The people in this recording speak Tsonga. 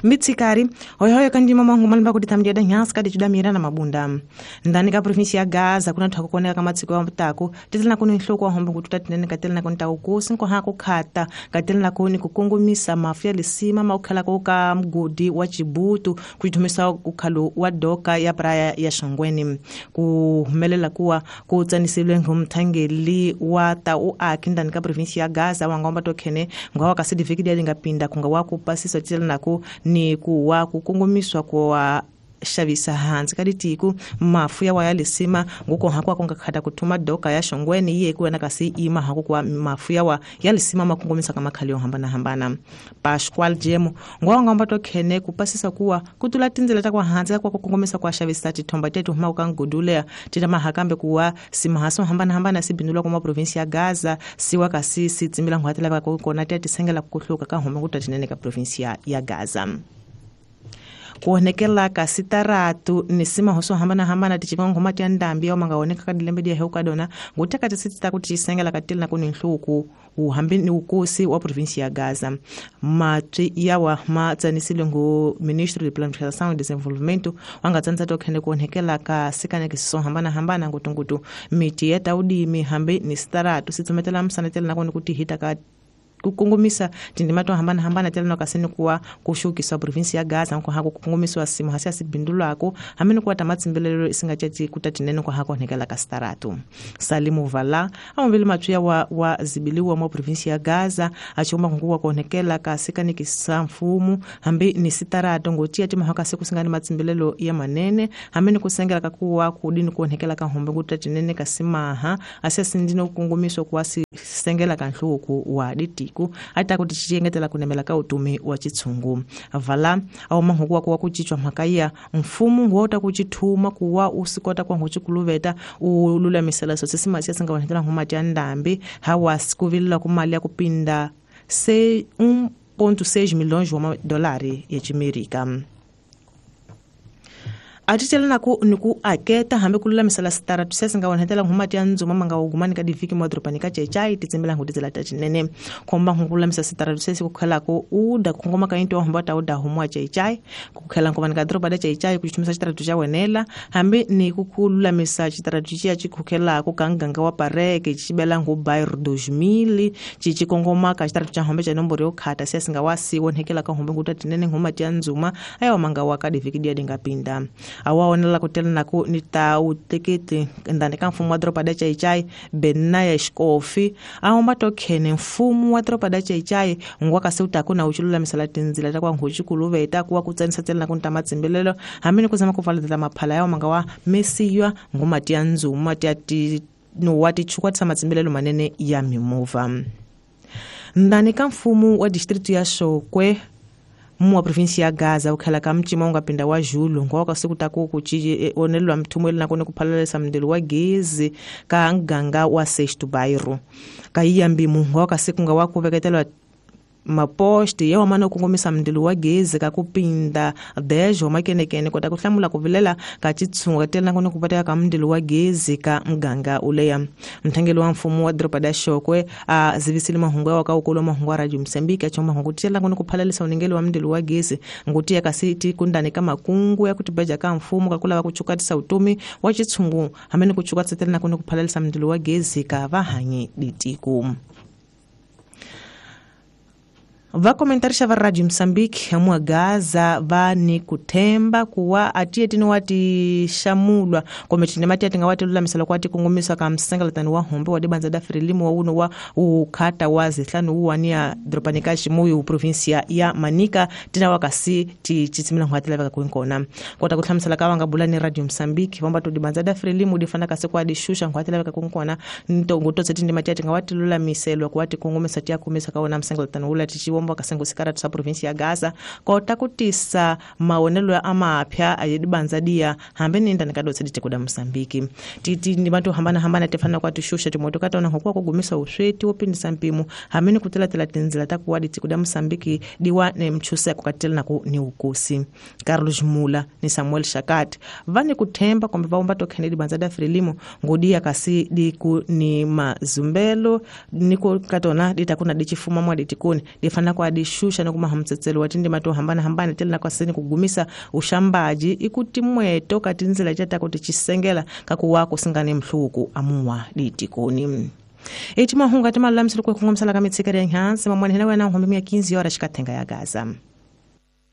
Mitsikari hoyohoyo kanjima mwangu malimba kuti tamdia nyanska dichudamira na mabunda ndani ka provinsi ya Gaza kuna thako koneka ka matsiko ya mutako titelana kuni nhloko wa hombo kututa tinene katelana kuni taukusi nkoha kukhata katelana kuni kukongomisa mafu ya lisima maukhala ka mgodi wa Chibutu kuitumisa ukhalo wa doka ya praya ya Shongweni kuhumelela kuwa kutsanisile ngumthangeli wa tau akhi ndani ka provinsi ya Gaza wangomba tokhene ngawa kasidiviki lingapinda kunga wa kupasiswa titelana ku ni kuwa kukongomiswa kwa xavisa hansi ka ditiko mafu ya waya lisima nguko hakwa kungakhata kuthuma doka ya Shongweni iye kuwena kasi ima haku kwa mafu ya wa ya lisima makongomisa ka makhali yo hambana hambana. Pascual Jemo ngwangomba tokhene kupasisa kuwa kutula tindzela ta kwa hansi kwa kukongomisa kwa xavisa tithomba tetu huma ka ngudulea tita mahakambe kuwa simahaso hambana hambana sibindulwa kwa provinsi ya Gaza siwa kasi sitsimila ngwatela ka kona tetisengela kuhluka ka homa kutatinene ka provinsi ya Gaza. Kuonekela ka sitaratu ni sima hoso hambana hambana tichiva ngoma tya ndambi ya mangaoneka ka dilembe dia heuka dona nguteka tisita kuti chisengela katili na kuni nhluku uhambi ni ukosi wa provinsi ya Gaza. Matwi yawa matsanisile ngu Ministro de Planificação e Desenvolvimento wangatsanisa tokhene kuonekela ka sikaneke siso hambana hambana ngutungutu miti ya taudimi hambi ni sitaratu sitsumetela msanetela na kuni kuti hita ka kukongomisa tindima to hambana hambana tela no kasini kuwa kushukiswa provinsi ya Gaza nko hako kukongomiswa simu hasi asibindulwako hamene kuwa tamatsimbelelo isingachati kutatinene kwa hako nekela kastaratu. Salimu Vala amabili mathuya wa zibiliwa mwa provinsi ya Gaza achoma nkuwa kuonekela kasikanikisa mfumu hambi ni sitaratu ngotia tima haka siku singani matsimbelelo ya manene hamene kusengela kakuwa kudini kuonekela kahombe kutatinene kasimaha asesindino kukongomiswa kuwa sengela kanhluku wa ditiko ata kuti chiyengetela kunemela ka utumi wa chitsungu. Vala au mahuku wa kuchichwa makaya mfumu wota kuchithuma kuwa usikota kwa nguchikuluveta ululamisela so sisima siyasinga wanetela nguma tya ndambi hawa sikuvilila kumali ya kupinda se 1.6 milhões de dólares ya Chimerika. Atitela naku niku aketa hambe kululamisela sitaratu sesinga wanhetela nguma tya nzuma manga ugumani ka diviki mwadropani ka chechai titsembela ngutitsela tachinene komba ngululamisa sitaratu sesi kukhelako uda kungoma ka into hamba ta uda humwa chechai kukhela ngomani ka dropa da chechai kuchitumisa chitaratu cha wenela hambe ni kukululamisa chitaratu chia chikukhelako ka nganga wa pareke chibela ngu bairro 2000 chichikongoma ka chitaratu cha hombe cha nomboro yokhata sesinga wasi wonhekela ka hombe ngutatinene nguma tya nzuma ayo manga wa ka diviki dia dingapinda. Awaonela kutela naku nita utekete ndani ka mfumo wa dropa da chaichai Benaya Xikofi ahomba tokhene mfumo wa dropa da chaichai ngwa kasi utaku na uchilulamisela tindzila ta kwa nguchikuluveta kuwa kutsanisa tsela na kunta matsimbelelo hamene kuzama kuvaleta maphala yawo manga wa mesiywa nguma tya nzuma tya ti no wa tichukwatisa matsimbelelo manene ya mimovha. Ndani ka mfumo wa distrito ya Shokwe mwa provinsi ya Gaza ukhala ka mchima ungapinda wa Julu ngoka sikutaku kuchi onelwa mthumweli nakone kuphalalisa mndelo wa gezi ka nganga wa Sexto Bairro ka iyambimu ngoka sikunga wa kuveketelwa maposti yawa mana kukongomisa mndilo wa gezi ka kupinda dejo makenekene kota kuhlamula kuvilela ka chitsunga tela nakone kupateka ka mndilo wa gezi ka mganga uleya. Mthangeli wa mfumo wa dropa da Shokwe a zivisile mahungu yawa ka ukolo mahungu wa Radio Msambiki achoma mahungu tela nakone kuphalalisa unengeli wa mndilo wa gezi ngutia kasiti kundani ka makungu ya kutibeja ka mfumo kakula kuchukatisa utumi wa chitsungu hamene kuchukatisa tela nakone kuphalalisa mndilo wa gezi ka vahanyi ditiku. Va komentarisha va Radio Msambiki hamwa Gaza va ni kuthemba kuwa atiye tini wati shamulwa kometine mati atinga wati lulamisela kwati kungumisa ka msengelatani wa hombe wa dibanza da Frelimo wa uno wa ukhata wa zihlanu uwania dropanika Chimuyu provinsia ya Manica tina wakasi ti chitsimila ngwatela vaka kuinkona kota kuhlamisela ka vanga bulani Radio Msambiki vamba to dibanza da Frelimo difana kasi kwa dishusha ngwatela vaka kuinkona ntongo totse tini mati atinga wati lulamiselwa kwati kungumisa tia kumisa kaona msengelatani ula tichiwo kasengo sikaratu sa provinsi ya Gaza kota kutisa maonelo ya amapya ayedibanza dia hambe ninda nikadotse ditekuda Mosambiki titi ndibantu hambana hambana tefana kwa tushusha timoto katona hokuwa kugumisa usweti wopindisa mpimo hamene kutelatela tinzila takuwa ditekuda Mosambiki diwa ne mchusa kukatela naku ni ukosi. Carlos Mula ni Samuel Shakat vani kuthemba kombe vaomba tokhene dibanza da Frelimo ngodia kasi diku ni mazumbelo niko katona ditakuna dichifuma mwa ditikuni difana kwa dixuxa ni kuma hamtsetselo wa tindima to hambanahambana ti na kwaseni ku gumisa uxambaji i ku timweto ka tindzela ta ku ticisengela ka ku wa ku singane mhluku amuwa ditikoni. Eti mahungu ati malulamiselo ku kongomisa ka mitshikeri ya nhansi mamwana hina wena nhombe mia 15 horas xikathenga ya Gaza.